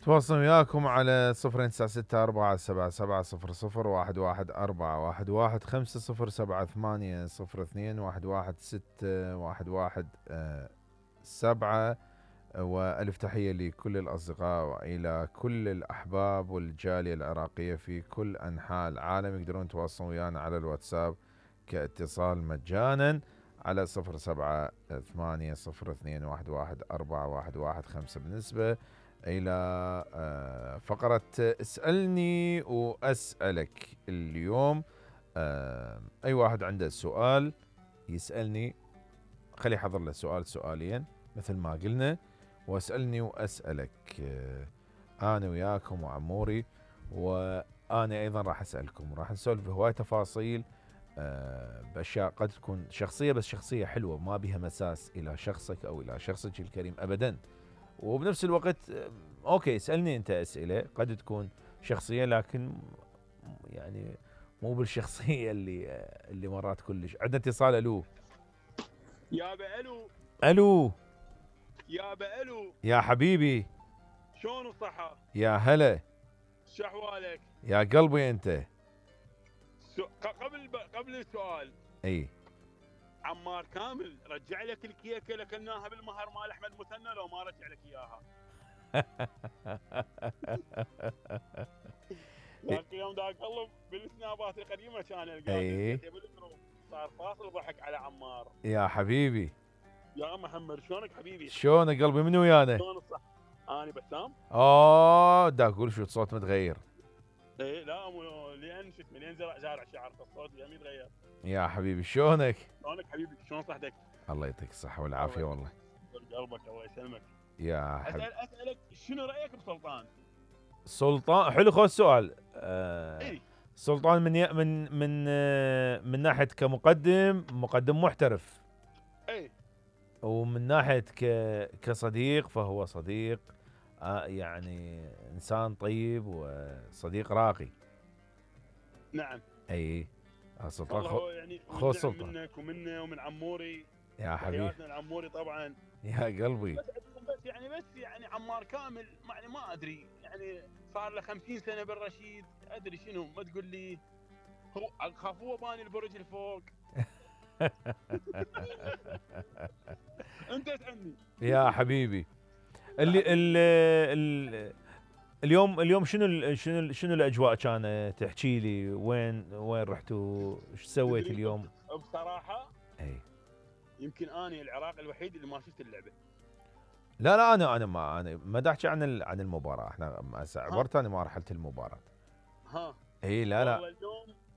تواصل وياكم على 0964770011 500802116117. وألف تحية لكل الأصدقاء وإلى كل الأحباب والجالية العراقية في كل أنحاء العالم. يقدرون يتواصلون ويانا على الواتساب كاتصال مجانا على 0780211415. بالنسبة إلى فقرة اسألني وأسألك اليوم، أي واحد عنده سؤال يسألني خلي يحضر له سؤالين مثل ما قلنا، واسألني وأسألك. أنا وياكم وعموري، وأنا أيضا راح أسألكم، راح نسولف بهواي تفاصيل بأشياء قد تكون شخصية، بس شخصية حلوة ما بها مساس إلى شخصك أو إلى شخصك الكريم أبدا. وبنفس الوقت أوكي اسألني أنت أسئلة قد تكون شخصية، لكن يعني مو بالشخصية اللي مرات كلش. عندنا اتصال. ألو يابا الو. ألو يابا الو. يا حبيبي شلون الصحة؟ يا هلا. شو احوالك؟ يا قلبي انت. قبل السؤال، اي عمار كامل رجع لك الكيكه اللي اكلناها بالمهر مال احمد مثنى لو ما رجع لك اياها؟ ذاك اليوم دا اقلب بالسنابات القديمه كان القاعد صار فاصل ضحك على عمار. يا حبيبي يا محمد شلونك حبيبي؟ شلونك قلبي؟ منو ويانا؟ شلون الصح؟ انا بسام. دا اقول شو الصوت متغير. ايه لا لان شو اسمه لين زارع شعر الصوت يعني يتغير. يا حبيبي شلونك؟ شلونك حبيبي؟ شلون صحتك؟ الله يعطيك الصحة والعافية والله. قلبك الله يسلمك. يا حبيبي اسالك شنو رايك بسلطان؟ سلطان حلو. خذ السؤال. إيه؟ سلطان من ناحية كمقدم محترف. اي. ومن ناحية كصديق فهو صديق يعني إنسان طيب وصديق راقي. نعم. أي سلطان. هو يعني خذ سلطان منك ومنه ومن عموري. يا حبيبي. تحياتنا لعموري طبعا. يا قلبي. بس يعني عمار كامل يعني ما ادري يعني صار له 50 سنة بالرشيد، ادري شنو ما تقول لي هو خافوه باني البرج الفوق. انت اسالني يا حبيبي. اليوم شنو الاجواء كانت؟ تحكي لي وين رحتوا؟ ايش سويت اليوم؟ بصراحه اي يمكن اني العراق الوحيد اللي ما شفت اللعبه. لا انا ما احكي عن المباراه. احنا عبرت انا ما رحلت المباراه. اي لا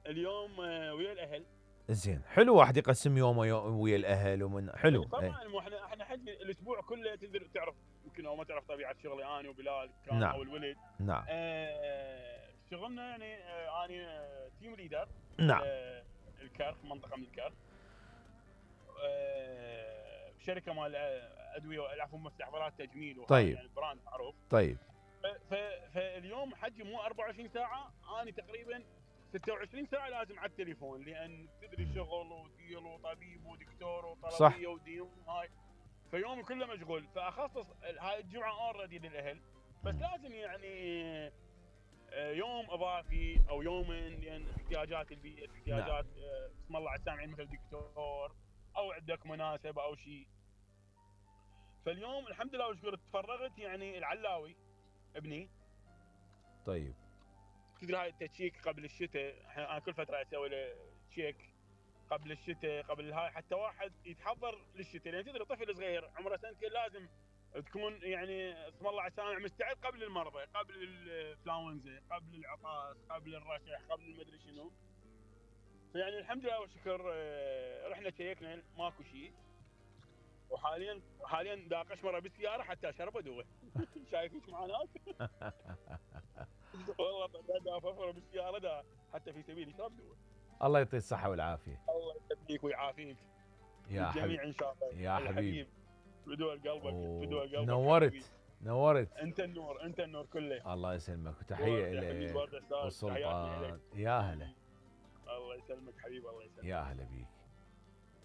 اليوم ويا الاهل. زين حلو واحد يقسم يومه ويا الاهل ومن حلو. طبعا احنا حج الاسبوع كله تقدر تعرف، يمكن او ما تعرف طبيعه شغلي انا وبلال كان. نعم. او الولد. نعم. شغلنا يعني انا تيم ليدر. نعم. الكرخ، منطقه من الكرخ. شركه مال ادويه العفوا مستحضرات تجميل. طيب. يعني براند معروف. طيب. فاليوم حجي مو 24 ساعه، انا تقريبا 26 ساعه لازم على التليفون، لان تدري شغل وديل وطبيب ودكتور وطلبيه وديون هاي، فيومي كله مشغول. فاخصص هاي الجمعه اوريدي للاهل، بس لازم يعني يوم اضافي او يومين، لان احتياجات البيئه، احتياجات اسم الله على السامعين مثل دكتور او عندك مناسبه او شيء. فاليوم الحمد لله وشكر تفرغت يعني العلاوي ابني. طيب. تدري هاي التشيك قبل الشتاء، انا كل فتره اسوي له تشيك قبل الشتاء، قبل هاي حتى واحد يتحضر للشتاء، لان تدري طفل صغير عمره سنتين لازم تكون يعني اسم الله على السامع مستعد قبل المرضى، قبل الانفلونزا، قبل العطاس، قبل الرشح، قبل المدري شنو. فيعني الحمد لله والشكر رحنا تشيكنا ماكو شيء. وحاليا دا قشمره بالسياره حتى اشرب ادوه. شايف ايش معناته؟ والله دا ففره بالسياره دا حتى في سبيل اشرب دوه. الله يعطيه الصحه والعافيه. الله يسعدك ويعافيك يا الجميع ان شاء الله. يا حبيبي بدول قلبك بدول قلبك. نورت. انت النور كله. الله يسلمك وتحيه لك. والسلطان. يا هلا. الله يسلمك حبيبي. الله يسلمك. يا هلا بيك.